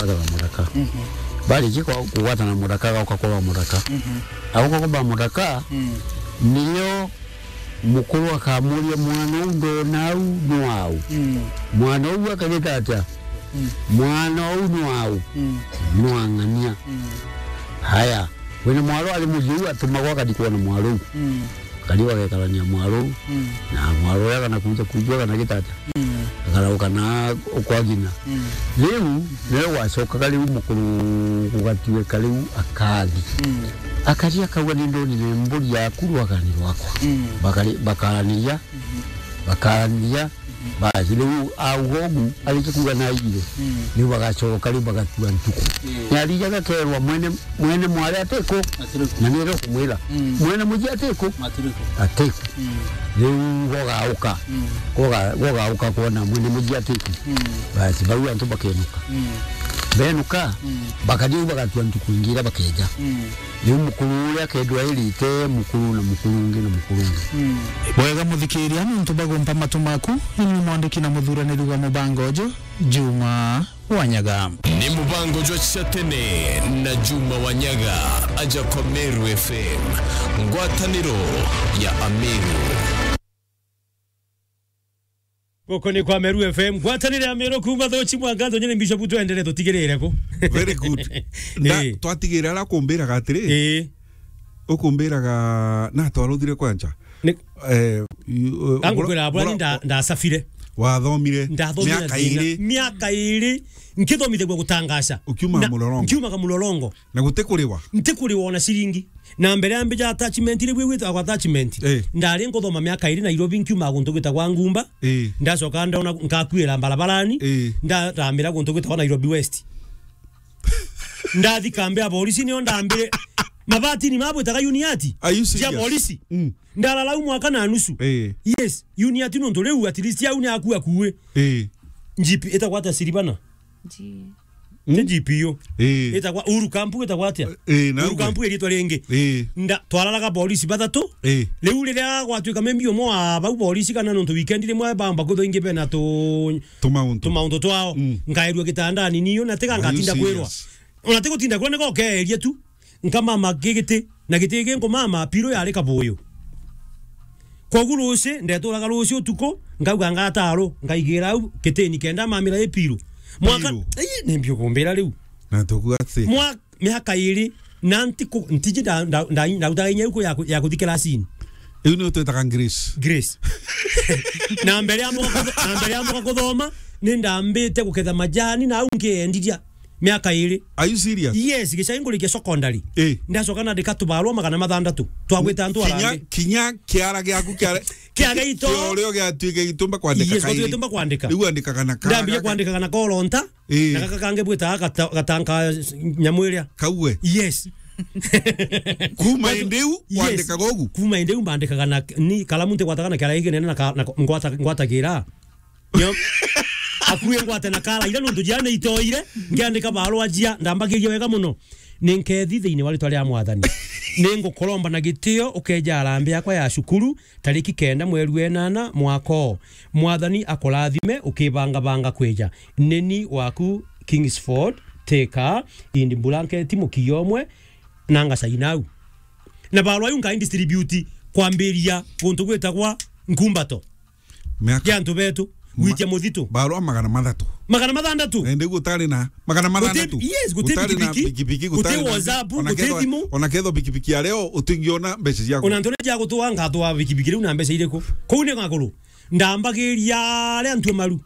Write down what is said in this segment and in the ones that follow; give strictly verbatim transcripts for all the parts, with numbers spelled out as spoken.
Gwatana muraka. Mhm. Barikia kwa-, kugwatana muraka, agauka kwa ba muraka. Mhm. Agauka kwa ba muraka, mm, niyo mukuru akamuria, "Mwana uu ndona au ni wau?" Mm. Mwana uu akagita atia? Mm. "Mwana uu ni wau?" Mm. Ni wa ng'ania. Mm. Haya, wina mwaro ari muciu atumagwa akari kwona mwaro uu. Mm. Kari bagekarania mwaro uu, mm, na mwaro uria kana kuja kuigua kana gitata. Mm. Akarauka na kwa gina. Mm. Riu niwe gwacokaga riu mukuru gugatuika riu akathi. Mm. Akari akauga, "Ni ndonire mburi yaku rwagani rwakwa." Mm. Bakari-, bakaraniria, mm-hmm, bakaraniria, basi, riu auga ugu, arikia kuuga naigire, mm, riu bagacoka, riu bagatua ntuku. Mm. Ni arijaga kerwa mwene, mwene mwari atiku, atiku, na nire kumwira, mm, mwene muji atiku, atiku, atiku. Mm. Riu gogauka, mm, goga-, gogauka kwona mwene muji atiku. Mm. Basi, bau antu bakenuka. Mm. Benuka, mm, bakathi au bagatua ntuku ingi iria bakeja. Mm. Riu mukuru uria akendwa airite mukuru na mukuru ungi na mukuru ungi. Mm. Bwega muthikiria, nontu bagumpa matu maku, ni mwandiki na muthuraniri wa mubango uju, Juma Wanyaga. Ni mubango jwa cia tene na Juma Wanyaga, aja kwa Meru F M, ngwataniro ya Ameru. Guku ni kwa Meru F M, ngwatanire ya Meru kuuma Thuchi Mwanganzo, nyene Bishop, twendere tutigirire ku. Very good. Na eh, twatigire ara kumbiraga atiri, eh, ukumbiraga na twaruthire kwa nja. Ni- eh, yu-, eh, kangukwira bura-, bwani bura-, nda-, ndasafire. Wathomire. Ndathomire miaka thina. Iri. Miaka iri, nkithomithagua gutangaca. Ukiuma na mulolongo. Nkiumaga mulolongo. Na gutikuriwa. Ntikuriwa ona ciringi. Na mbere ya mbija attachment, riu igwitagwa attachment. Eh. Ndari nkuthoma miaka iri Nairobi, nkiuma guntu gwitagwa Ngumba. Eh. Ndacoka ndona nkakuira mbarabarani. Eh. Ndarambira guntu gwitagwa Nairobi West. Ndathi kambi ya borisi, nio ndambire mabatini mabwitaga uniati. Are you serious? Cia borisi. Mm. Ndarara u mwaka na nusu. Eh. Yes, uniati nontu riu at least au ni aku akuwe. Eh. G P itagwa ata, Siribana? G- Ni G P U. Eh. Itagwa Uhuru Camp, itagwa atia? Eh, na Uhuru Camp iritwa ringi. Eh. Nda-, twararaga borisi bathatu. Eh. Riu riria gwatuika maybe umwe wa bau borisi kana nontu weekend rimwe bamba kwithwa ingi bena tu-, tumauntu, tumauntu twao. Mm. Nkairua gitandani niyo na tiga ngatinda kwirwa. Are you serious? Ona tigutinda kwirwa, nigo ukeeria tu. Nkamama gigiti, na giti gi nkumama, piro yari kabuyu. Kogu ruci, ndeturaga ruci utuku, nkauga ngataru, nkaigira au gitini kenda mamira i piro. Mwaka, piro. Ii, ni mbio kumbira riu. Na tuku ati. Mwa-, miaka iri, na ntiku-, ntiji nda-, nda-, nda-, ndautaga inya iku ya ku-, ya kuthi kirasini. Iu ni utwitaga Grace. Grace. Na mbere ya mboka kutho-, na mbere ya mboka kuthoma, ni ndambite guketha majani, na au nkiendiria. Miaka iri. Are you serious? Yes, gicagi ngurikia secondary. Eh. Ndacoka nandika tubarua magana mathandatu. Twagwita antu kinya, arangi. Kinya kiara giaku kiara, kia gaito. Kia urio giatuike gitumba kwandika. Yes, kairi. Gitumba kwandika. Riu andikaga na kara. Ndambia kwandikaga na koronta. Eh. Na gaka kangi bwitaga gata-, gatanka nyamu iria. Kauwe. Yes. Kuma indi u, yes, wandikaga ugu? Kuma indi u mbandikaga na ni kalamu ntigwataga na kiara giki kinene na ka-, na ko-, ngwata-, ngwatagira. Nio. Akue ngwate na kara ira nontu jia ni itoire, ngiandika barua jia, ndambagiria wega muno. Ni nkethi thiini wa ritwa ria Mwathani. Ni ngukuromba na gitio ukeja arambi yakwa ya cukuru, tariki kenda mweri wa enana mwaka uu. Mwathani akurathime ukibangabanga kwija. Neni waku Kingsford, Thika, in blanket mukiya umwe, na ngacaina au. Na barua iu nkai distribute kwambiria guntu gwitagwa Nkumbato. Miaka gia antu betu, ma-, gwitia muthitu. Barua magana mathatu. Magana mathandatu? Eh, ndigu utari na magana mathandatu. Guti, yes, guti utari na pikipiki, pikipiki, guti gutari na WhatsApp, ona guti kethwa, thimu. Ona kethwa pikipiki ya leo, utingiona mbeca ciaku. Ona ntone cia gutua, ngatua pikipiki riu na mbeca iriku? Kuu ni ngakuru. Ndambagiria aria antu maru.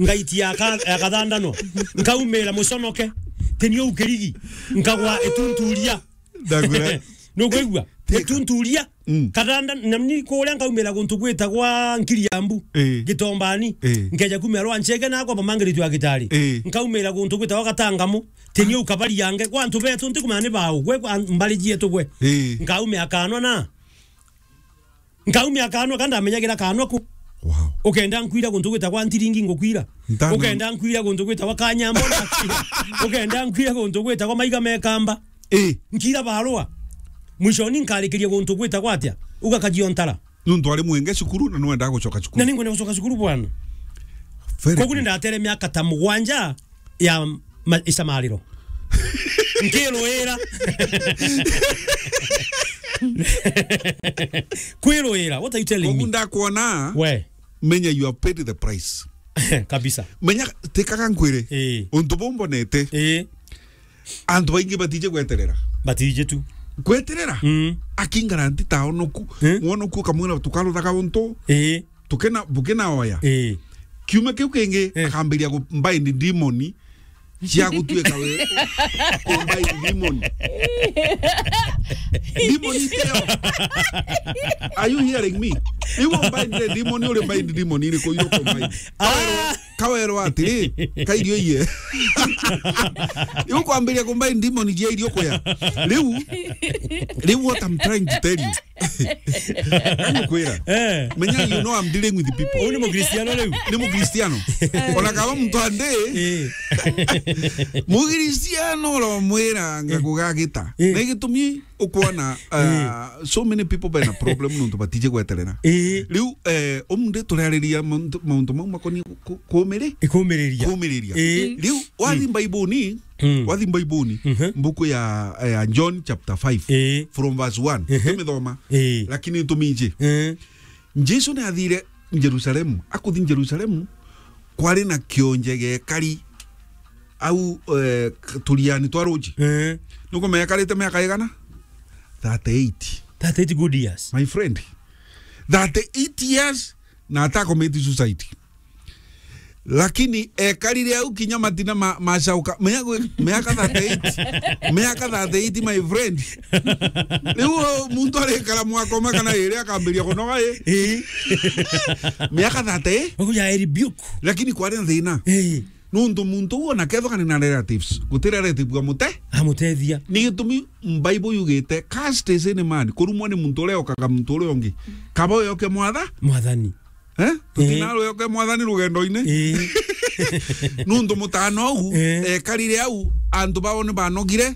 Ngaitia aka-, akathandano. Nkaumira muconoke. Teni uu kirigi. Nkagwa itunturia. Ndagura. Nukwigua? Thika. Gitunturia. Mm. Katanda, na ni kuria nkaumira guntu gwitagwa Nkiriambu. Eh. Gitombani. Eh. Nkeja kumira rwa Nchege na kwa Mamangiriti wa Gitari. Eh. Nkaumira guntu gwitagwa Gatangamu. Teni uu kabari yange. Kwa antu betu ntikumenya ni bau. Gwe kwa mbari jietu gwe. Eh. Nkaumia kanwa na. Nkaumia kanwa, ka ndamenyagira kanwa ku. Wow. Ukenda nkwira guntu gwitagwa Ntiringi, ngukwira. Ntano. Ukenda nkwira guntu gwitagwa Kanyambo, ndakwira. Ukenda nkwira guntu gwitagwa Maiga Mekamba. Eh. Nkira barua. Mwishoni nkarikiria guntu gwitagwa atia? Uga Kajiontara. Nuntu ari mwenge cukuru na nwendaga gucoka cukuru. Na ninkwenda gucoka cukuru, bwana. Very good. Koguo ni ndatere miaka ta mugwanja ya Ma-, icamariro. Nkiruira. Kwiruira, what are you telling me? Koguo ndakwona, we, menya you have paid the price. Kabisa. Menya, tikaga nkwire. Ii. Untu buu mbonete. Ii. Antu baingi batije gweterera. Batije tu. Gweterera? Mm. Akingara nti ta onoku. Eh? Mwonoku ukamwira tukaruthaga untu. Ii. Tukena, bukena oya. Ii. Kiumia kiu kingi, eh, akambiria ku bind demon cia gutuika we ku bind demon. Demon iteo. Are you hearing me? Iwe bind demon, uri bind demon iriku iruku bind? Ah. Kawerwa atiri, kairio iye. Iu kwambiria kumbai ndimoni jia irio kuya. Riu, riu what I'm trying to tell you. Nani kwira? Eh. Menya, you know I'm dealing with people. Uu ni Mukristiano riu? Ni Mukristiano. Ona kaba muntu andi, eh, Mukristiano uromwira ngakugagita. Eh. Na gitumi ukwona, eh, uh, so many people bena problem nontu batije gweterera. Eh. Riu, eh, umuthi turariria mauntu, mauntu mau makonie ku-, ku-, kumiri-, kumiriria. Kumiriria. Eh. Riu, wathi, mm, Baibuni, mm, wathi Baibuni, mhm, mbuku ya, ya John chapter five, eh, from verse one. Mhm. Tumithoma. Eh. Lakini tumiji. Eh. Jesu ni athire Jerusalemu. Akuthi Jerusalemu, kwari na kionje gekari au, eh, k-, turiani twa ruji. Eh. Nukumenya ekarite miaka igana? Thirty-eight. Thirty-eight good years. My friend. Thirty-eight years na atakomiti suicide. Lakini ekarire au kinya matina ma-, macauka. Miaka, miaka thirty-eight. Miaka thirty-eight, my friend. Riu muntu arikara mwaka umwe kana iri akambiria kunoga i. Ii. Miaka thirty. Ogu ya rebuke. Lakini kwari na thina. Ii. Nuntu muntu uu ona kethwa kari na relatives, guti relative amute-, amutethia. Ni gitumi Bible yugite, "Cursed is any man," kurumwa ni muntu uria okaga muntu uria ungi. Kaba uyoke mwatha-, mwathani. Eh? Tutinarwe oke mwathani rugendo-ini. Eh. Nuntu mutano uu, eh, ekarire au, antu bao ni banogire,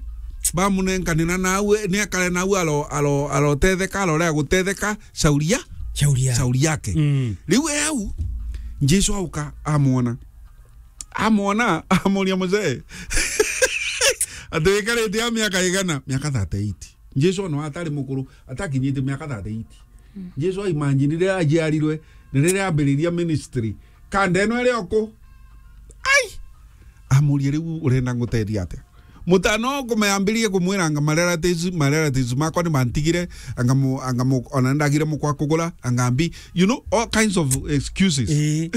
bamunenkanira nau, ni ekare nau aro-, aro-, arotetheka, arore agutetheka, shauri ya-, shauri ya-, shauri yake. Mm. Riu e au, Jesu auka, amwona. Amwona, amuria, "Mzee, ati wikarite a miaka igana?" Miaka thirty-eight. Jesu ona atari mukuru, atakinyite miaka thirty-eight. Mm. Jesu aimanjini riria ajiarirwe, na riria ambiriria ministry. Kanda ino iri oku? Ai! Amuria, "Riu urenda ngutethia atia?" Mutano kume ambirie kumwira anga, "My relatives, my relatives makwa ni bantigire, anga mu-, anga mu-, ona ndagire mukwa kugura, anga mbi." You know, all kinds of excuses. Ii.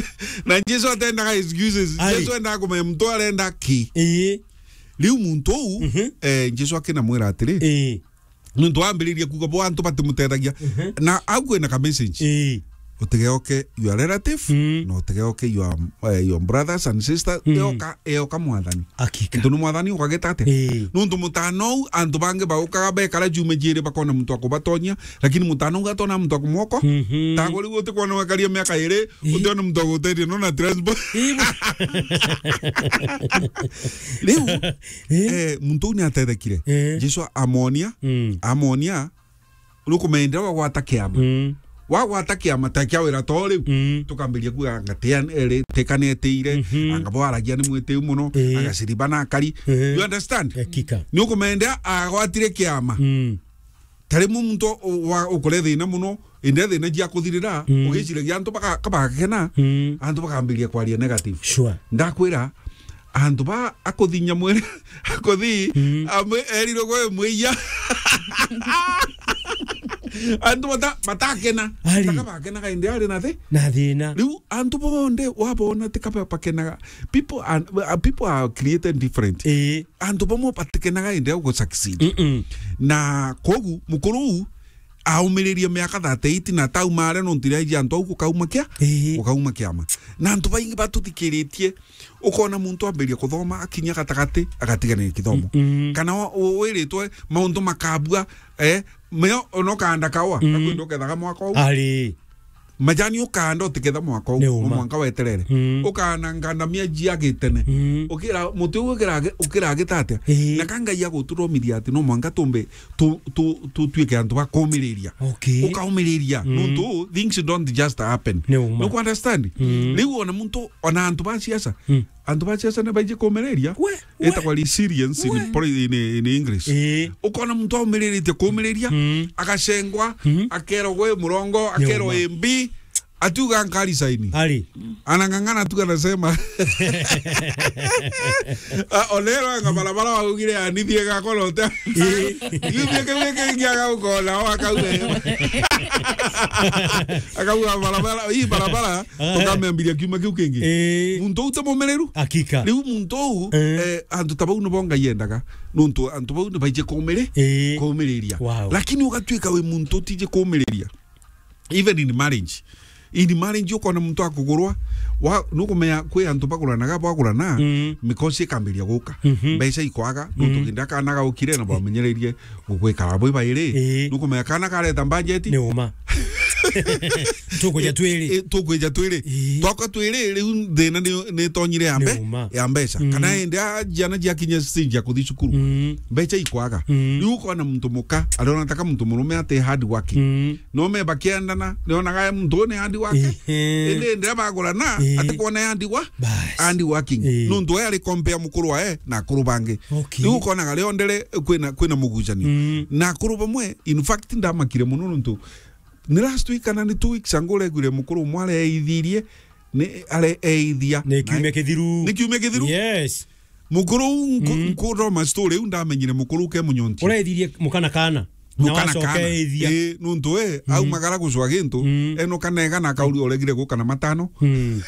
Na Jesu atendaga excuses. Ai. Jesu endaga kumenya muntu arenda ki. Ii. Riu muntu uu, mhm, eh, Jesu akinamwira atiri, ii, nuntu wambiririe kuuga bo antu batimutethagia. Mhm. Na au kwina ka message. Ii. Utigeoke your relative, mm, na utigeoke your, eh, your brothers and sisters. Mm. Eoka, eoka mwathani. Hakika. Ntu ni mwathani ukagita atia? Ii. Nuntu mutano uu, antu bangi baukaga bekara juma jiiri bakona muntu wa kubatonyia, lakini mutano uu atona muntu wa kumwoko. Mhm. Tago riu utikwona wekaria miaka iiri, ii, utiona muntu wa gutethia, no na transport. Ii, bu- Riu, eh, eh, muntu uu ni atethekire. Eh. Jesu amonia, mm, amonia, nukumenya wagwata kiama. Mm. Wagwata kiama ta kia wira to riu. Mm. Tukambiria kuuga anga tia-, eri, tika ni etiire, mhm, anga bo aragia ni mwitiu muno, eh, anga ciriba na akari. Eh. You understand? Hakika. Nukumenya agwatire kiama. Mm. Ta rimwe muntu u-, wa-, ukore thina muno, indi thina jia kuthirira, mm, ugiciragia antu baka-, kabagakena, mm, antu bakambiria kwaria negative. Sure. Ndakwira, antu ba akuthinya mwene, akuthi, mm, amwe erirwe gwe mwiya. Antu bata-, batakena. Ari. Taka bakenaga indi ari na thi-, na thina. Riu antu bonthe wabona tika ba-, bakenaga. People are, uh, people are created different. Ii. Antu bamwe batikenaga indi au gu succeed. Mm-mm. Na kogu mukuru uu aumiririe miaka thirty-eight na taumare nontu ria iji antu au gukauma kia-, ii, gukauma kiama. Na antu baingi batuthikiritie, ukona muntu ambiria kuthoma, akinya gatagati, agatiganira kithomo. Mm-mm. Kana wa-, u-, wiritwe mauntu makabua, eh, meo ona ukanda kawa, mm, gakwenda ukethaga mwaka uu. Ari. Majani ukanda utiketha mwaka uu, ni uma, no mwanka weterere. Mm. Ukana ngandamia jia gitene. Mm. Ukira, muti uu ukira agi-, ukira agita atia? Ii. Na ka Ngai aguturomithia ati no mwanka tumbe tu-, tu-, tutuike antu ba kumiriria. Okay. Ukaumiriria. Mm. Nuntu things don't just happen. Ni uma. Nuku understand? Mm. Riu ona muntu, ona antu ba siasa, mm, Antu ba siasa ni baiji kumiriria. We, we. Itagwa resilience in We. poli-, in, in English. Ii. Ukona muntu aumiriritie kumiriria, Mm. agacengwa, Mm. akerwa gwe murongo, akerwa Nyuma. imbi, atuga nkari saini. Ari. Anang'ang'ana tu anasema. Ah, olero anga barabara waugire anithie gakora uta. Ii. Yumie kiu kingi agaukona, o akauga. Akauga barabara, hii barabara, Ah. tukamwambiria kiuma kiu kingi. Ii. Muntu uti mumiriru. Hakika. Riu muntu uu, Eh. eh, antu ta bau nibo Ngai endaga. Nontu antu bau ni baiji kumiri-, Ii. kumiriria. Wow. Lakini ugatuika wi muntu utiji kumiriria. Even in marriage. In marriage ukona muntu akugurwa, wa, nukumenya kwi antu baguranaga, bagurana, Mm. mikosi ikambiria guka. Mhm. Mbeca ikwaga, nontu Mm. kindi akana gaukire na bamenyereirie gugwikara bwi bairi. Ii. Nukumenya kana kareta budget. Ni uma. Tukwija twiri. I, tukwija twiri. Ii. Twakwa twiri, riu thina ni, ni tonyire ya mbe-, Ni uma. ya mbeca. Mm. Kana indi a, ciana ciakinya stage ya kuthi cukuru. Mm. Mbeca ikwaga. Mm. Riu ukona muntu muka, ariona taka muntu murume ati hard working. Mm. No me bakiendana, nionaga muntu ni hard working. Ehe. Indi, indi bagurana, Ii. ati kuona hard wa-, Bas. hard working. Ii. Nontu we ari compare mukuru wae na akuru bangi. Okay. Riu ukonaga riondere kwina, kwina mugucanio. Mm. Na akuru bamwe, in fact, ndamakire muno nontu ni last week kana ni two weeks ago uregwire mukuru umwe areithirie, ni areithia. Ni kiumia kithiru. Ni kiumia kithiru? Yes. Mukuru uu nku-, Mm. nkuroma story iu ndamenyire mukuru uke munyonti. Ureithirie mukana kana. Na Mukana wacoka kana. eithia. Ii, nontu we, Mm. aumagara gucwa gintu, Mm. eno kana ega na akauri oregire guka na matano. Mm.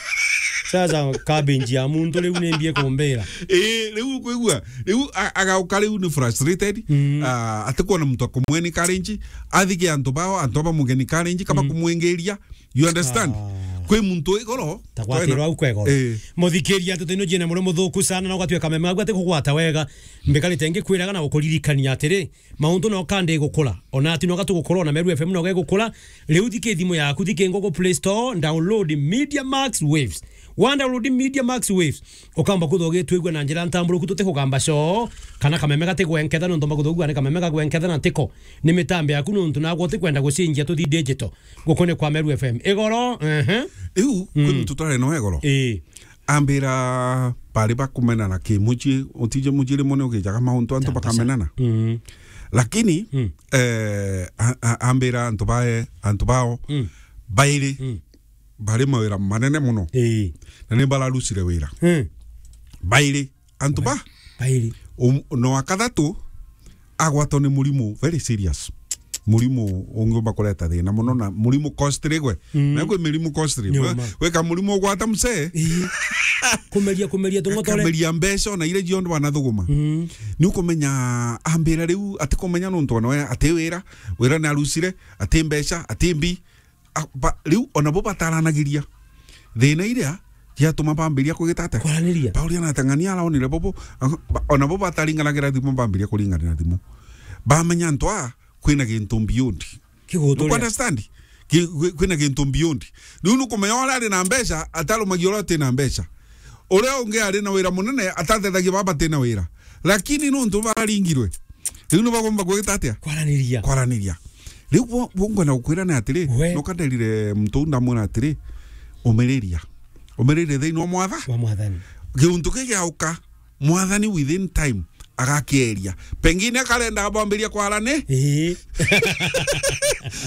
Sasa cabbage ya muntu riu ni mbie kumbira. Ii, riu kwigua, riu a-, agauka riu ni frustrated, Mm. ah, atikwona muntu akumwe encourage, athike antu bao, antu aba mugeni encourage, kaba Mm. kumwingiria, You understand? Ah. Kwi muntu igoro. Ta gwatirwa au kwegoro. Eh. Muthikiria, ndeto ino ciina muri muthuku sana, na ugatuika meme agu ati kugwata wega. Mbikarite ngikwiraga na gukuririkania atiri, mauntu no kandi gukura. Ona ati no gatugukura, ona Meru F M no gegukura. Riu thike thimu yaku, thike Google Play Store, download Media Max Waves. Wa download Media Max Waves, ukamba kutho ugitwigua na njira ntamburuku, tutikugamba coo, kana kameme gatigwenketha, nontu mba kutho ugua ni kameme gagwenketha na tiko. Ni mitambo yaku, nontu nagwe utikwenda gucinjia tuthi digital. Guku ni kwa Meru F M. Igoro, ehe. Riu, kwi Mm. muntu twarari nawe igoro. Ii. Ambira bari bakumenana ki mucii, utije mucii rimwe ni ugijaga mauntu antu Tata sa- bakamenana. Mm. Lakini, Mm. eh, a-, a-, ambira antu bae, antu bao, Mm. bairi, Mm. bari mawira manene muno. Ii. Na ni bararucire wira. Mm. Bairi. Antu ba? Bairi. Um, no wa kathatu agwatwa ni murimu very serious. Murimu ungiumba kureta thina muno na murimu costly gwe. Mm. Na kwi mirimu costly. Nyuma. We, weka murimu ugwata msee. Ii. Kumeria, kumeria tung'otore. Akameria mbeca ona iria cionthe banathuguma. Mm. Ni ukumenya ambira riu ati kumenya nontu ona we ati wira, wira ni arucire, ati mbeca, ati mbi. A, ba, riu ona bo bataranagiria. Thina iria ciatuma bambiria kugita atia? Kwaraniria. Pauria na atang'ania araonire bobo, a, ba, ona bo bataringanagira thimu bambiria kuringanira thimu. Bamenya antu aa kwina gintu beyond. Kiguturia. Nuku understand? Ki-, kwi-, kwina gintu beyond. Riu nukumenya uria ari na mbeca, atarumagia uria uti na mbeca. Uria ungi ari na wira munene, atatethagia baba bati na wira. Lakini nontu baringirwe, riu ni bagomba gwita atia? Kwaraniria. Kwaraniria. Riu bo, bo ngwenda gukwira ni atiri, We. nuka nderire muntu uu ndamwira atiri, umiriria. Umiriria thiini wa mwatha. Wa mwathani. Giuntu kigiauka, mwathani within time agakieria. Pengine akarenda bambiria kwarani. Ii.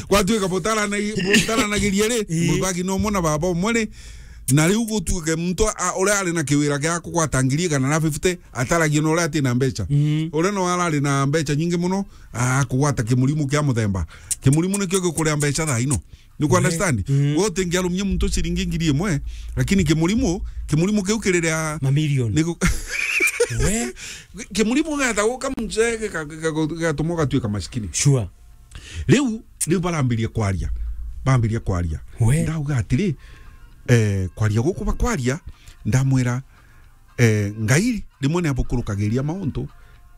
Gwatuika butarana-, butaranagiria ri, Ii. muthaki no mwana baba umwe ri, na riu gutuike muntu a, uria ari na kiwira gia kugwata ngiri igana na fifty, ataragia na uria ati na mbeca. Mm. Uria no arari na mbeca nyingi muno, akugwata kimurimu kia muthemba. Kimurimu nikio gikuria mbeca thaa ino. Nuku understand? Mm. We utingiarumia muntu ciringi ngiri imwe, lakini kimurimu, kimurimu kiu kiriria Mamilioni. niku-, We? Kimurimu geta guka mzee gika-, gika-, gigatuma ugatuika masikini. Sure. Riu, riu barambirie kwaria. Bambirie kwaria. We. Ndauga atiri, eh, kwaria guku bakwaria, ndamwira, eh, Ngai rimwe ni abukurukagiria mauntu,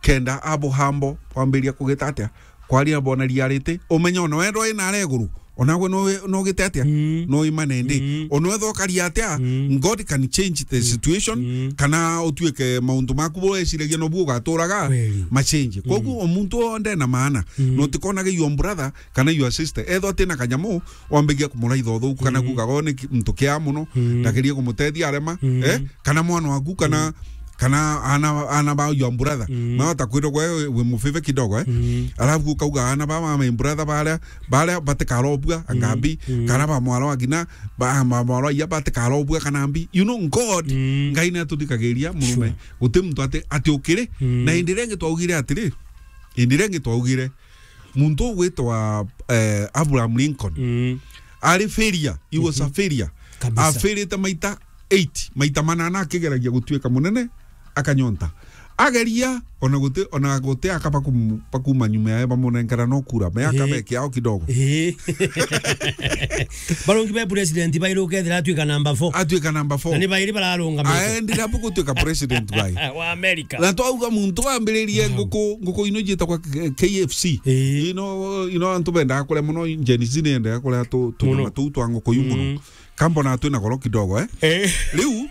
kenda abo hambo bambiria kugita atia, kwaria bona riarite, umenye ona wendo ina areguru, Onagwe no, no gite atia? Mm. No imane ndi. Mm. Ono etho karia atia? Mm. God can change the Mm. situation, Mm. kana utuike maundu maku bo eciragia no bu ugaturaga, Kweli. machange. Koguo Mm. o muntu onde na maana. Mm. No tikonage your brother kana your sister. Etho atina kanyamu, wambigia kumuraitha uthuku, kana Mm. kuga, "Gone ki-, muntu kia muno, Mm. ndagerie kumutethia arema." Mm. Eh? Kana mwana waku, kana, Mm. kana ana, ana ba your brother. Mm. Mawata kwirwa gwe wi mufive kidogo, eh? Mm. Alafu ukauga ana ba my brother baria, baria batikarobua, Mm. angambi, Mm. kana ba mwaro agina, ba, ba mwaro iya batikarobua, kana mbi. You know, God, Mm. Ngai natuthikagiria murume. Sure. Guti muntu ati, ati ukiri. Mm. Na indi ringi twaugire atiri, indi ringi twaugire, muntu ugwitwa, eh, Abraham Lincoln, Mm. ari failure. He was a Mhm. failure. Kabisa. Afailite maita eight, maita manana akigeragia gutuika munene, akanyonta. Ageria, ona guti, ona guti aka bakum-, bakuma nyuma yae bamunenkera no kura, me aka Ii. be kiao kidogo. Ii. Barongi be president bairi ukethira atuika number four. Atuika number four. Na ni bairi bararungamite. Aendire abu gutuika president bai. Wa America. Na twauga muntu wambiririe Wow. nguku, nguku ino jitagwa K-, K F C. Ii. Ino, ino antu bendaga kuria muno, Gen Z ni endaga kuria tu, Muno. tunyama tuu twa nguku yu muno. Mm. Kambo na twina goro kidogo, eh? Eh. Riu,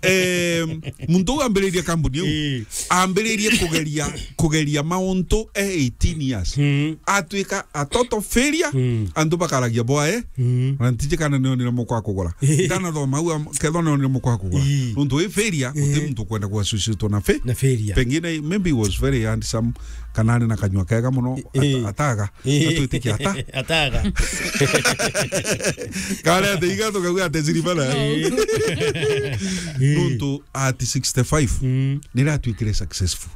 em, muntu uu ambiririe kambuni iu, Eh. ambiririe kugeria, kugeria mauntu e eighteen years. Mm. Atuika a total failure, Mm. antu bakaragia bwae, Mm. na ntiji kana nionire mukwa kugura. Eh. Ndanathoma au am-, kethwa nionire mukwa kugura. Eh. Nuntu wi failure, guti Eh. muntu kwenda ku associate na fa-, Na failure. Pengine, maybe he was very handsome, kana ari na kanyua kega muno, Eh. ata-, ataga. Ii. Atwitikia ata? Ataga. Kare ate iga tukauga ate ziribana. No. Ii. Nuntu at sixty-five, Mm. nira atwikire successful.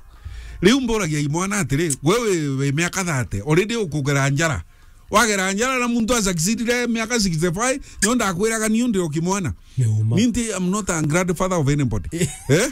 Riu mburagia imwana atiri, we wi, wi miaka thirty, already ukugera njara. Wagera njara na muntu asucceedire miaka sixty-five, nio ndakwiraga niu ndi o kimwana. Ni uma. Ninti, I'm not a grandfather of anybody. Eh?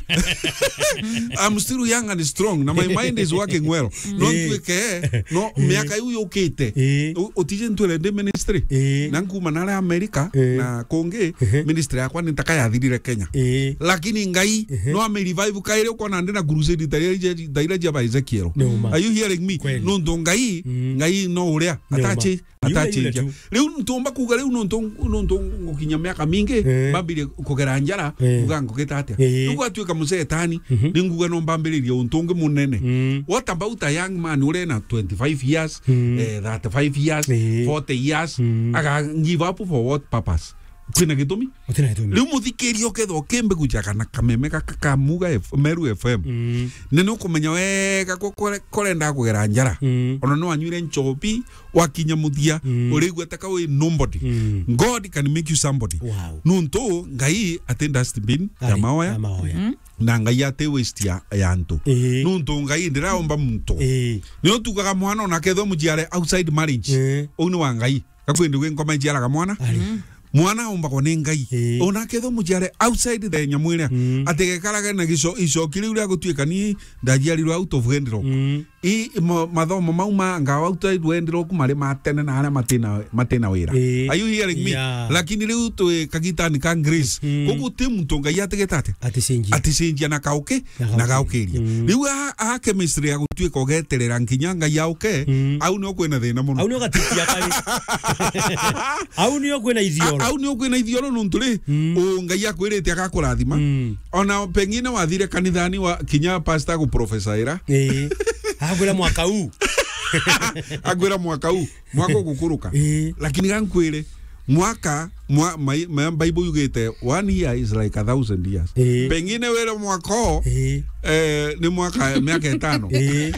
I'm still young and strong. Na my mind is working well. No Eh. ntuike, no, Eh. miaka iu yukite. Eh. U-, utije ntwire ndi ministry. Eh. Na nkuma nare America, Eh. na kungi, Ehe. ministry yakwa ni ntaka yathirire Kenya. Eh. Lakini Ngai, Ehe. no ame revive kairi ukona ndi na crusade ta iria, ta iria cia ba Ezekiel. Ni uma. Are you hearing me? Kweli. Nuntu Ngai, Mm. Ngai no uria. Ni uma. Atachi. Yule, yule Atacenjia. Tu. Riu ntumba kuuga riu nuntu, nuntu ngukinya miaka mingi, Eh. mbambirie kugera njara, Eh. nguga ngugita atia? Eh. Riu gwatuika musetani, Mhm. ni nguga no mbambiririe untu ungi munene. Mm. What about a young man uri na twenty-five years, Mm. eh, thirty-five years, Eh. forty years, Mm. aga give up for what purpose? Kwina gitumi? Utina gitumi. Riu muthikiria ukethwa ukimbi guja kana kameme gaka ka Muga F-, Meru F M. Mm. Ni nukumenya wega ko kore-, korenda kugera njara. Mm. Ona no anyuire nchobi, wakinya muthia, Mm. urigua ta ka wi nobody. Mm. God can make you somebody. Wow. Nuntu Ngai ati dustbin ya Ari, maoya. Ya maoya. Mm. Na Ngai ati waste ya, ya antu. Ii. Nuntu Ngai ndiraomba muntu. Ii. Ni utugaga mwana ona kethwa mujiare outside marriage. Ii. Uu ni wa Ngai. Gakwindi gwi nkoma ijiaraga mwana. Ari. Mm. Mwana aumbagwa ni Ngai. Ii. Ona kethwa mujiare outside the nyamu iria. Mm. Ati gekarage na gico-, icoki riu ria gutuika ni ndajiarirwe out of wedlock. Mm. I, ma-, mathomo mau ma ngawa outside wedlock mari ma tene na aria matina, matina wira. Ii. Are you hearing me? Yeah. Lakini riu twi kagitani ka grace. Mm. Koguo ti muntu Ngai atigete ati? Aticenjia. Aticenjia na kauki, Na na gauki. Gaukiria. Mm. Riu a, a chemistry ya gutuika ugeterera nginya Ngai auke, Mm. au nio kwina thina muno. Au nio gatikia kari. Au nio kwina ithioro. A-, au nio kwina ithioro nuntu ri, Mm. u Ngai akwirite agakurathima. Mm. Ona pengine wathire kanithani wa kinya pastor aguprofesaira. Ii. Akwira mwaka uu. Akwira mwaka uu. Mwaka ugukuruka. Ii. Lakini gankwire, mwaka, mwa-, mai-, ma-, Bible yugite, "One year is like a thousand years." Ii. Pengine wire mwaka o, Ii. eh, ni mwaka, miaka itano. Ii.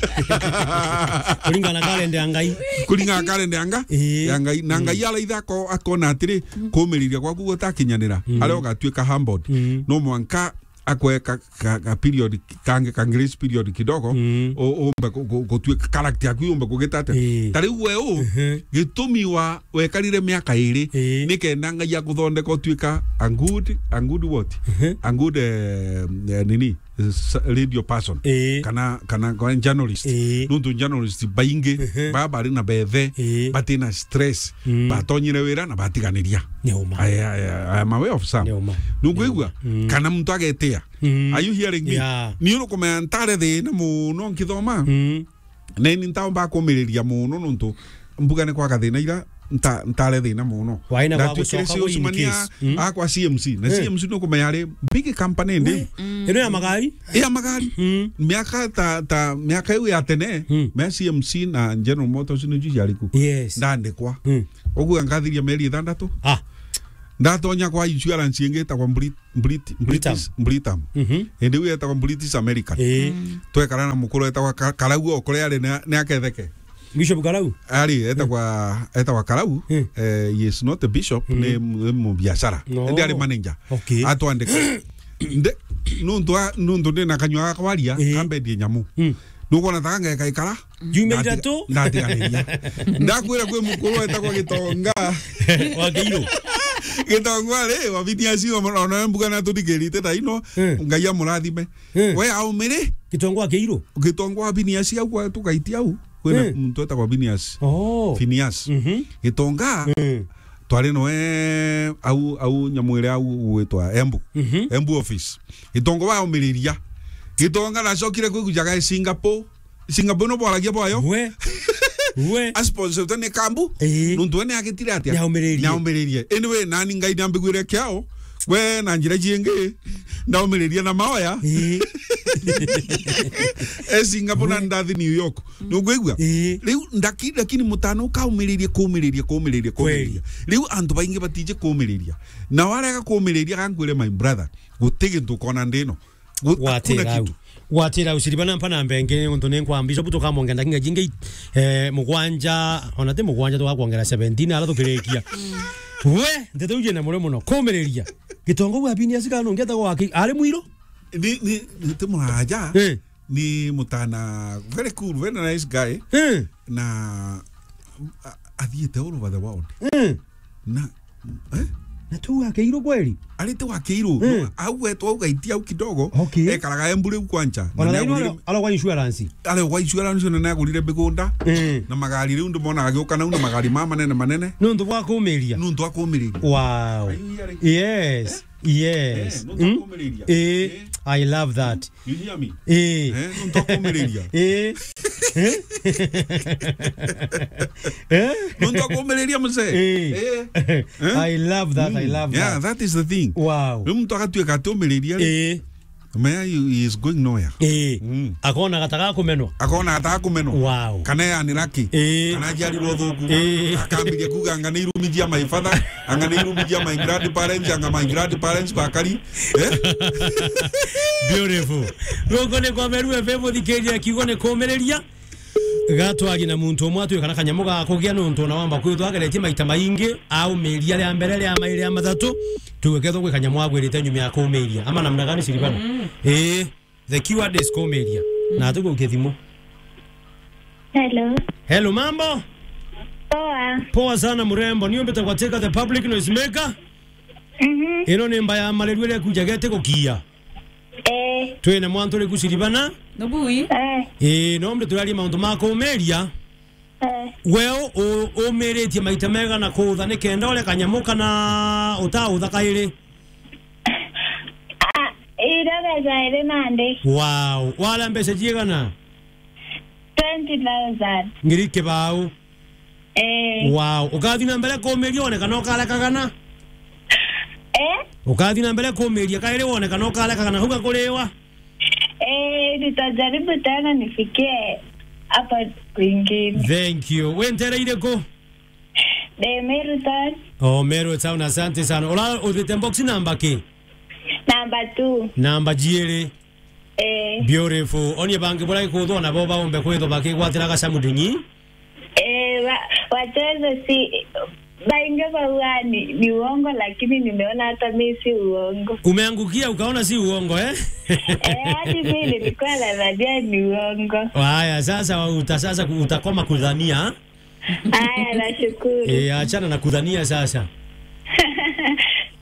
Kuringana na kalenda ya Ngai. Kuringana na kalenda ya Nga-, Ii. ya Ngai. Na Ngai Mm. araitha ako-, akona atiri, kumiriria gwaku gutakinyanira, Mm. aria ugatuika humbled. Mm. No mwanka akwe ka, ka, ka period kangi, ka grace period kidogo, Mm. u-, umbe ku-, ku-, gutuika character yaku yumbe kugita atia. Ii. Ta riu we u, Ehe. gitumi wa wekarire miaka iri, Ii. ni kenda Ngai aguthondeka utuika a good, a good what? Ehe. A good, eh, eh, nini? S-, radio person. Ii. Kana, kana, kana journalist. Ii. Nuntu journalist baingi, Ehe. baba bari na bethe, Ii. batina stress, Mm. batonyire wira na batiganiria. Ni uma. Aya, aya, aya, my way of some. Ni uma. Nukwigua? Ni uma. Mm. Kana muntu agetia. Mm. Are you hearing me? Yeah. Ni urukumenya ntare thina muno nkithoma. Mm. Na ni ntaomba kumiriria muno nuntu mbuga ni kwaga thina ira nta-, ntare thina mono. Waina gwa Ndatuikire gucoka sales in mania case. Mm. Akwa C M C. Na Eh. C M C nukumenya ari big company ndi. Mm. Ino ya magari? Ya magari. Mm. Miaka ta, ta, miaka iu ya tene, Mm. me C M C na General Motors ni ju ciari ku. Yes. Ndandikwa. Mm. Uguo nkathiria mieri ithandatu. Ah. Ndatonya kwa insurance ingi itagwa Brit-, Brit-, Britam. British, Britam. Mhm. Indi iu etagwa British American. Ii. Mm. Twekara na mukuru etagwa Ka-, Karau, o kuria ari ni, ni aketheke. Bishop Karau? Ari, etagwa, etagwa Karau. Mm. Eh, he is not a bishop, Mm. ni, ni mubiashara. No. Indi ari manager. Okay. Atwandika. Nde-, nuntu a-, nuntu ndi na kanyua ga kwaria, Ii. kambendie nyamu. Mm. Nukwona ta ngeka ikara? Juma Ndati-, ithatu? Ndatiganiria. Ndakwira kwi mukuru etagwa Gitonga. Wa Kiiru. Gitonga ri, wa Phineas, o-, ona mbuga na tuthikirite ta ino. Eh. Ngai amurathime. Eh. We aumire? Gitonga wa Kiiru? Gitonga wa Phineas au kwa tukaitia au. Kwina Eh. muntu etagwa Phineas. Oh. Phineas. Mhm. Gitonga, Eh. twari noe au, au nyamu iria au gwitwa Embu. Mhm. Embu office. Gitonga waumiriria. Gitonga ndacokire kwigujaga e Singapore. Singapore no bwaragia bwayo. We. We. Asponsortwe ni Kambu. Ii. Nuntu we ni agitire atia? Niaumiririe. Niaumiririe. Anyway, nani Ngai niambiguire kiao. We na njira ciingi, ndaumiriria na maoya. Ii. E Singapore na We. ndathi New York. Nukwigua? Ii. Riu ndaki-, lakini mutana ukaumiriria, kumiriria, kumiriria, Kweli. kumiriria. Riu antu baingi batiji kumiriria. Na warega kumiriria, gankwire my brother, guti gintu ukona ndino. Gu-, hakuna Gwatira au. kitu. Gwatira au, Siriba nampa namba ingi, nontu ni nkwamba, Bishop tukamwongera ndakika jingi, eh, mugwanja, ona ti mugwanja, tugakwongera seventeen, ara tukirikia. We, nteto uje na mure muno, kumiriria. Gitonga wa Phineas kana ungi etagwa wa Ki-, ari mwiru? Ni, ni, ni ti muraja. Eh. Ni mutana, very cool, very nice guy. Eh. Na, a-, athiite all over the world. Eh. Na, eh? Na tu wa Kiiru kweli? Arite wa Kiiru. Eh. No, au wetwa au gaitia au kidogo. Okay. Ekaraga Embu riu kwanja. Na Ona ni laini agurire wala, ala kwa insurance. Ale kwa insurance na ni agurire migunda. Eh. Na magari riu ndimona agiuka nau na magari ma manene manene. Nuntu bwa kumiria. Nuntu bwa kumiria. Wow. Are you hearing? Yes. Yes. Eh, nuntu bwa Mm? kumiria. Eh, Eh. I love that. You hear me? Eh. Eh, nuntu akumiriria. Eh. Eh? Eh? Nuntu akumiriria, mzee. Eh. Eh. Eh? I love that, I Mm. love Yeah, that. that is the thing. Wow. Riu muntu agatuika ati umiriria ri, Eh. maya, he is going nowhere. Eh. Mm. Akona gataga kumenwa. Akona gataga kumenwa. Wow. Kana yani lucky. Eh. Kana aciarirwo thuku. Eh. Akambiria kuga, "Anga ni irumi cia my father, anga ni irumi cia my grandparents, anga my grandparents bakari." Eh? Beautiful. Guku ni kwa Meru F M, uthikiria kiugo ni kumiriria. Gatwari na muntu umwe atwika na kanyamu ga kugia nuntu ona wamba kwithwa ageretie maita maingi, aumiria ria mbere, ria mairi, ria mathatu, tuge kethwa gwi kanyamu agwirite nyuma ya kumiria. Ama namna gani, Silvana? Mm. Ii, the keyword is kumiria. Mm. Na tugukia thimu. Hello. Hello, mambo? Poa. Poa sana, mrembo. Ni umbite kwa Teka the public noise maker? Mhm. Ino ni mba ya mareru iria ikujaga itigukia. Eh. Twina mwantu uriku, Silvana? Nubui? Eh. Ii, no mbe turarie mauntu ma kumiria. Eh. We u-, u-, umiritie maita mega na kuutha ni kenda uria kanyamu kana utautha kairi? Ah, iria mbeca iri nandi. Wow. Wala mbeca ciigana? Twenty thousand. Ngiri kibau. Eh. Wow. Ukathi na mbere kumiria one kana ukarekagana? Eh? Ukathi na mbere kumiria kairi one kana ukarekagana hau gakuriwa? Eh, nitajaribu tena nifikie hapa kwingine. Thank you. We ntere iriku? Ndi Meru Town. Oh, Meru Town, asante sana. Ura uthite box namba ki? Namba two. Namba jiiri. Eh. Beautiful. Onie bangi bura ikuthwa nabo baumbe kwithwa bakigwatira gacamu ndingi. Eh, wa-, wacheze si, baingi bauga ni, ni uongo, lakini nimeona hata mi si uongo. Umeangukia ukaona si uongo, eh? Eh, hadi mi nilikuwa nadhania ni uongo. Haya, sasa uta-, sasa ku-, utakoma kudhania. Haya, nashukuru. Eh, achana na kudhania sasa.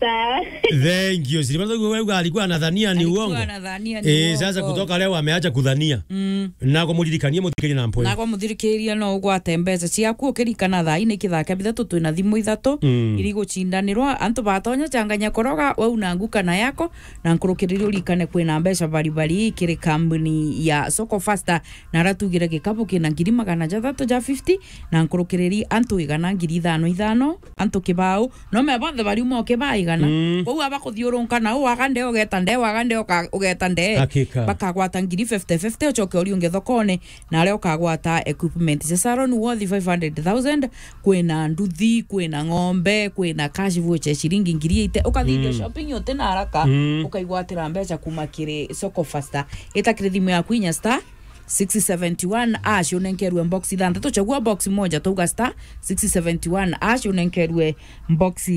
Sawa. Thank you. Silvana, wewe alikuwa anadhania ni uongo. Alikuwa anadhania ni Eh, uongo. Sasa kutoka leo ameacha kudhania. Mm. Na kumuririkania muthikiria na mpwe. Na kumuthikiriria no ugwate mbeca ciaku ukirikana thaa ii ni kithaka bithatu twina thimu ithatu Mm. iri gucindanirwa. Antu batonya changanya koroga, we una nguka na yako, na nkurukiriri urikane kwina mbeca bari bari kiri kambuni ya Soko Faster, na aratugire gikabu kina ngiri magana jathatu ja fifty, na nkurukiriri antu igana ngiri ithano ithano, antu kibao, no me bonthe bariuma o kibaa igana. Mm. Kwou abakuthiurunka nau, waga nde ugeta nde, waga nde uka-, ugeta nde. Hakika. Bakagwata ngiri fifty fifty, ucoke uriunge thokone, na aria ukagwata equipment cia salon worth five hundred thousand, kwina nduthi, kwina ng'ombe, kwina cash voucher ciringi ngiri eighty, ukathithia Mm. shopping uti na haraka, Mm. ukaigwatira mbeca kuma kiri Soko Faster. Ita kiri thimu yaku inya star six seventy one hash unenkerwe box ithanthatu, chagua box moja, tauga star six seventy one hash unenkerwe box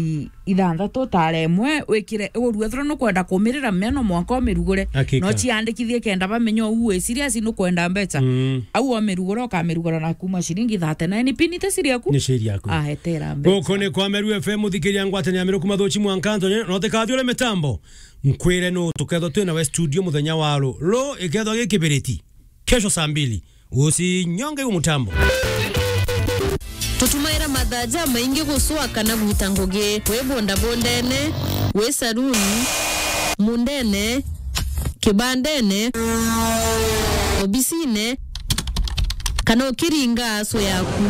ithanthatu, tara imwe, wikire urue thura nukwenda kumirira meno mwanka umirugure. Hakika. No ciandikithie kenda bamenye uu wi serious nukwenda mbeca. Mm. Au umirugura ukamirugura na kuma ciringi thirty nine, pini te siri yaku. Ni siri yaku. Ahetera mbeca. Guku ni kwa Meru F M, muthikiria ngwatania miruku mathuchi mwanka Anthony, no tikathie ure mitambo. Nkwire nu tukethwa twina we studio muthenya wa ru. Ru ikethwa gi kibiriti. Kesho saa mbili. Usinyonge huu mtambo. Tutumaira mathaa jamaingi gucua kana gwita ngugi. Wi bondabondene, wi saruni, mundene, kibandene, obisine, kana ukiringa aso yaku.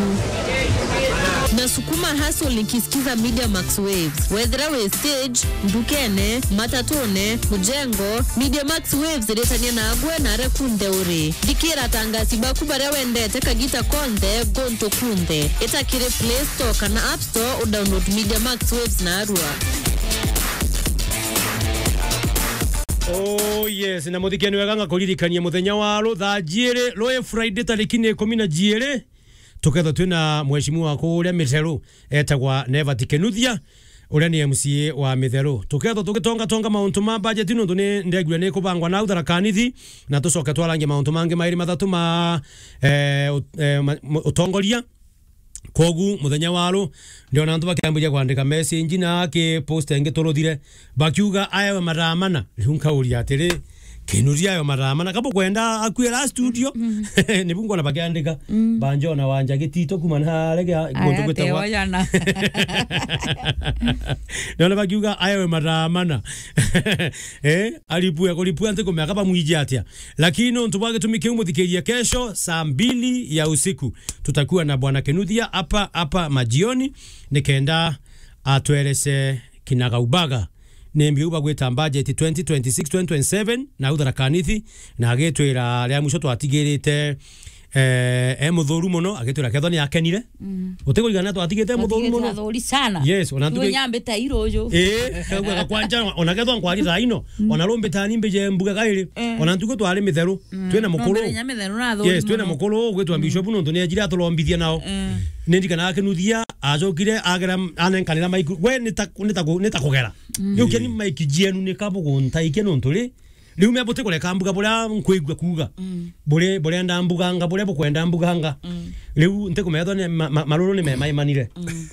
Nasukuma hustle nikisikiza Media Max Waves. Wethira wi stage, ndukene, matatune, mujengo, Media Max Waves iritania nagwe na aria kunthe uri. Thikira atangasi baku baria wendete kagita konthe, guntu kunthe. Ita kiri Play Store kana App Store, udownload Media Max Waves narua. Oh yes, na muthikeni wega, ngakuririkania muthenya wa ru thaa jiiri, rui Friday tariki ni ikumi na jiiri, tukethwa twina mheshimiwa waku uria Mitheru etagwa Nevat Kinuthia, uria ni M C A wa Mitheru. Tukethwa tugitongatonga mauntu ma budget, nontu ni ndegwira ni kubangwa nau Tharaka Nithi, na tucoke twarangie mauntu mangi mairi mathatu ma, eh, ut-, eh, ma-, mu-, utongoria. Kwogu muthenya wa ru, ndiona antu bakiambiria kwandika message na aki post ingi turuthire, bakiuga aewe mathaa mana. Riu nkauria atiri, Kinuthia aewe mathaa mana? Kaba ukwenda akue la studio, nibu ngona bakiandika. Mm. Banjona Wanja Gitito kuma na arege aya guntu gwitagwa Teojana. Ndiona bakiuga aewe mathaa mana. Eh, aripue, kuripua nti kumea kaba mwiji atia. Lakini nontu bwa gitumi kiu, muthikiria, kesho saa mbili ya usiku tutakuwa na Bwana Kinuthia hapa, hapa majioni, nikenda atwerese kinagaubaga ni mbiu bagwita budget twenty twenty-six, twenty twenty-seven, na au Tharaka Nithi, na agitwira ria mwisho twatigirite, eh, e muthuru muno, agitwira kethwa ni akenire. Mm. Utigurigana twatigite muthuru muno. Athuri sana. Yes, ona ntuku nyambite iruju. Eh, kagwe gakwanja, ona kethwa nkwari thaa ino, ona rumbita ni mbije mbuga gairi, eh, ona ntuku twari Mitheru, mm, twina mukuru. Yes, twina mukuru, gwitwa, mm, Bishop, nontu ni ajira aturombithia nao. Mm. Ni ndirikanaga Kinuthia, acokire, agera, anenkanira maiku. We, ni ta, ni ta ku-, ni ta kugera. Mm. Riu keni maiki jienu ni kabu guntaikia nontu ri, riu me buti kureka mbuga buria nkwigua kuuga. Mm. Buri-, burenda mbuganga, buria bukwenda mbuganga. Mm. Riu ntikumethwa ni ma-, ma-, maruru ni memaimanire. Mm.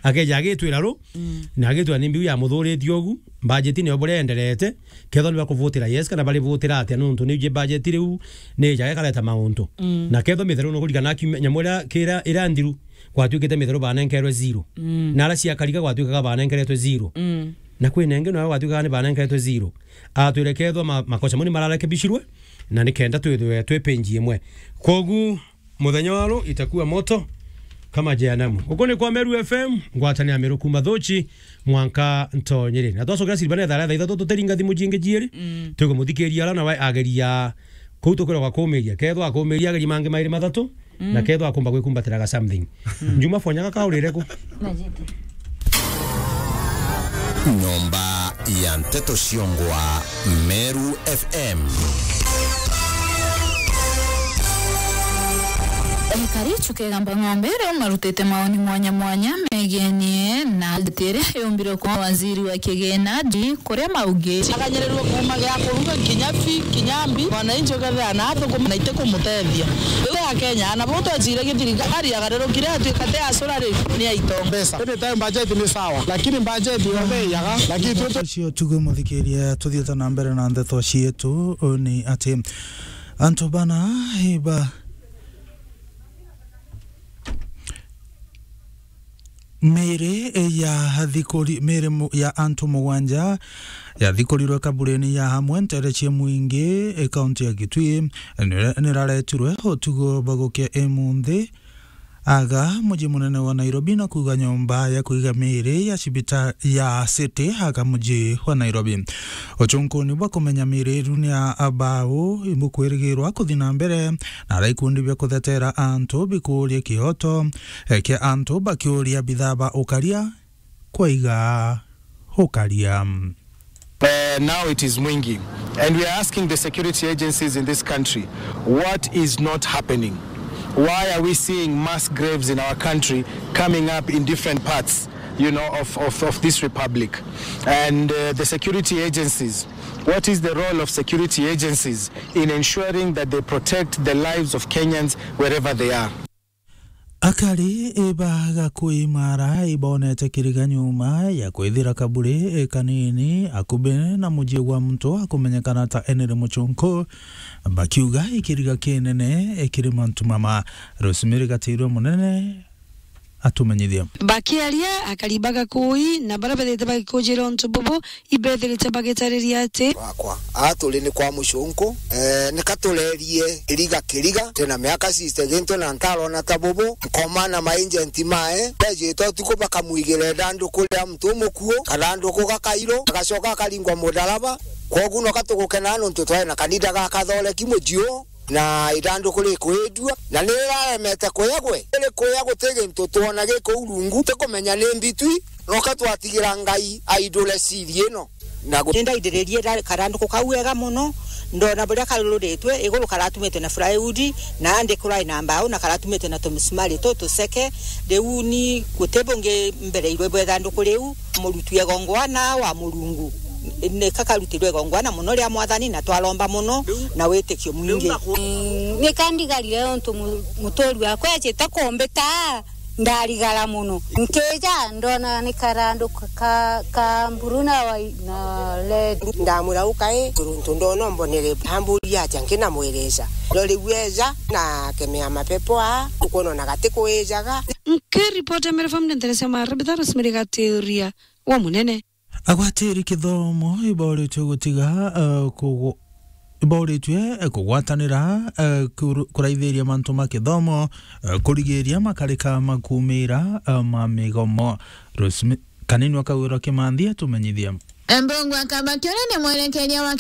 Akeja agitwira ru, mm, na agitwira ni mbiu ya muthuritie ugu, budget niyo buria enderete, kethwa ni bakuvutira yes kana barivutira atia, nontu ni iji budget riu ni ijaga ikareta mauntu. Mm. Na kethwa Mitheru nukurikana kiumia, nyamu iria kira, iria nthiru, gwatuikite Mitheru banenkerwe zero. Mm. Na aria cia Kariga gwatuikaga banenkeretwe zero. Mm. Na kwina ingi nayo gwatuikaga ni banenkeretwe zero. Atwire kethwa ma-, makosa mau ni mararekebishirwe, na nikenda twithwe twi page imwe. Kwogu, muthenya wa ru itakuwa moto kama jehanamu. Guku ni kwa Meru F M, ngwataniro ya Miru kuma Thuchi mwanka Ntonyeri. Na twacokera Silvana thaa, thaa ithatu tutiringa thimu jingi jiiri. Mm. Tukumuthikiria ara nawe ageria kuu tukwiragwa kumiria. Kethwa akumiria ageria mangi mairi mathatu, mm, na kethwa akumba gwikumbatiraga something. Mm. Njuma fonya gaka urire ku? Najite. Nyomba ya Nteto Ciongwa, Meru F M. Ekari Chukegamba Ng'ombe riu marutite maoni mwanya mwanya megienie na budget iria yumbirwe kuma waziri wa kigina, Di Kuria Maugi. Akanyirirwe kuuma gia kuruga kinya fi, kinya mbi, mwananchi ukethira na athukuma na itikumutethia. Riu Akenya, na bo twecire githirikari agarurukire atuika te acura ri, ni aito. Mbeca. Anytime budget ni sawa, lakini budget yonthe iyaga, lakini tu- Cio tuge muthikiria, tuthiete na mbere na ndeto cietu, ni ati antu bana iba Miri ya thikuri-, miri mu-, ya antu mugwanja yathikurirwe kaburini ya Hamwe ntere cia Mwingi, e, kaunti ya Kitui, nira-, niraretirwe utugo bwa gukia imunthi aga muji munene wa Nairobi, na kuuga nyomba ya kuiga miri ya cibita-, ya City aga muji wa Nairobi. Uchunkuni bwa kumenya miri iru ni ya abau ibukwirigirwa kuthi na mbere, na ara ikundi bia kuthetera antu bikuuria kioto, e, kia antu bakiuria bithaba ukaria kwaiga ukaria. Uh, now it is Mwingi. And we are asking the security agencies in this country, what is not happening? Why are we seeing mass graves in our country coming up in different parts, you know, of, of, of this republic? And, uh, the security agencies, what is the role of security agencies in ensuring that they protect the lives of Kenyans wherever they are? Akari iba Gakui Mara ibonete kiriga nyuma ya kwithira kaburi kanini akubi na muji gwa muntu akumenyekana ta Henry Muchunku, bakiuga ikiriga kinene kiri mantu mama. Rosemary Gatirwe Munene atumenyithia. Bakiaria, akari ba Gakui na baria bethirite bagikujira untu bubu, ibethirite bagitariria ati, wakwa, aa turi ni kwa Muchunku, eh, nika turerie iriga kiriga, twina miaka sixty gintu na ntarona ta bubu, nkoma na maagenti mae, bejite utuku bakamwigira ithanduku ria muntu umukuu, kathanduku gakairu, gacoka gakaringwa mudaraba. Kwogu noka tugukena nontu twari na kanitha ga Kathoreki muji uu, na ithanduku rikwidua, na ni riraremete kuya gwe, rikuya guti gintu twona gi kuu rungu, tukumenya ni mbitwi, noka twatigira Ngai aindure siri ino. Na gu- Nindaindiririe ra-, karanduku kau wega mono, ndona buria karururitwe, iguru karatumitwe na plywood, na ndi kurai na mbau, na karatumitwe na tumisumari tu tuceke. Riu ni guti bungi mbereirwe bwa ithanduku riu, murutwi igongwana wa Murungu. Ni kakarutirwe igongwana mono ria Mwathani, na twaromba mono na witikio mwingi. Mm, ni kandigarire untu mu-, muturi wakwa ejite kumbita, ndarigara mono. Nkija, ndona ni karandu ka, ka, ka mburu na wai-, na red. Ndamwira, "Ukai, kuruntu ndona umbonere." Amburia atia, nkinamwirisa. Ndo riu eja, na akemea mapepo aa, ukwona ona gati kuijaga. Nkiripoti ya Meru F M ni ntere cia Marabitha, Rosemary Gatiria wa Munene. Agwatiri kithomo iboritwe gutiga, eh, kugu-, iboritwe, eh, kugwatanira, eh, kuru-, kuraithiria mantu ma kithomo, eh, kurigiria makarika ma kuumira, eh, ma migomo. Rosemary, Kanini wa Kawira Kimanthi atumenyithia. Mbungu akamba kiuria ni mwerekeria wa